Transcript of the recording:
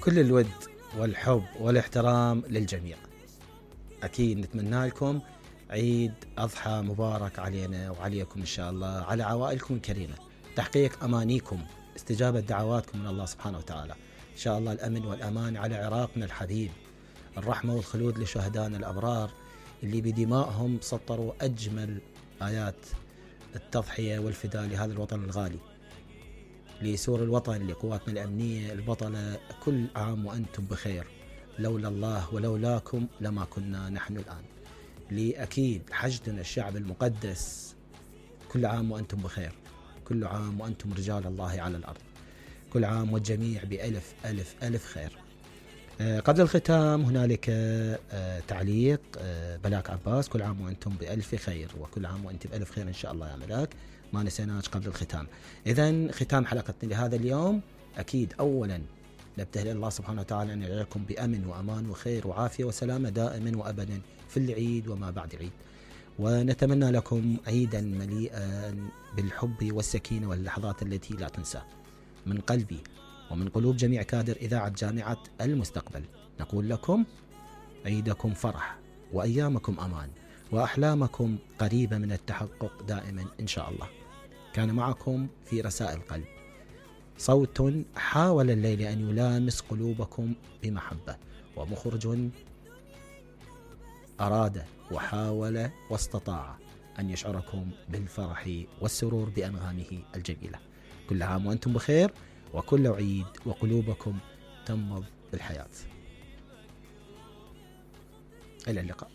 كل الود والحب والاحترام للجميع. أكيد نتمنى لكم عيد أضحى مبارك علينا وعليكم إن شاء الله، على عوائلكم الكريمة، تحقيق أمانيكم، استجابة دعواتكم من الله سبحانه وتعالى. إن شاء الله الأمن والأمان على عراقنا الحبيب، الرحمة والخلود لشهدائنا الأبرار اللي بدمائهم سطروا أجمل آيات التضحية والفداء لهذا الوطن الغالي، لسور الوطن، لقواتنا الأمنية البطلة. كل عام وأنتم بخير، لولا الله ولولاكم لما كنا نحن الآن. لأكيد حشدنا الشعب المقدس، كل عام وأنتم بخير، كل عام وأنتم رجال الله على الأرض، كل عام والجميع بألف ألف ألف خير. قبل الختام هنالك تعليق بلاك عباس: كل عام وأنتم بألف خير، وكل عام وأنت بألف خير إن شاء الله يا ملاك، ما نسيناش قبل الختام. إذن ختام حلقتنا لهذا اليوم، أكيد أولا نبتهل الله سبحانه وتعالى أن يجعلكم بأمن وأمان وخير وعافية وسلامة دائما وأبدا في العيد وما بعد العيد، ونتمنى لكم عيدا مليئا بالحب والسكينة واللحظات التي لا تنسى. من قلبي ومن قلوب جميع كادر إذاعة جامعة المستقبل نقول لكم عيدكم فرح وأيامكم أمان وأحلامكم قريبة من التحقق دائما إن شاء الله. كان معكم في رسائل قلب صوت حاول الليل أن يلامس قلوبكم بمحبة، ومخرج أراد وحاول واستطاع أن يشعركم بالفرح والسرور بأنغامه الجميلة. كل عام وأنتم بخير، وكل عيد وقلوبكم تنبض بالحياة. إلى اللقاء.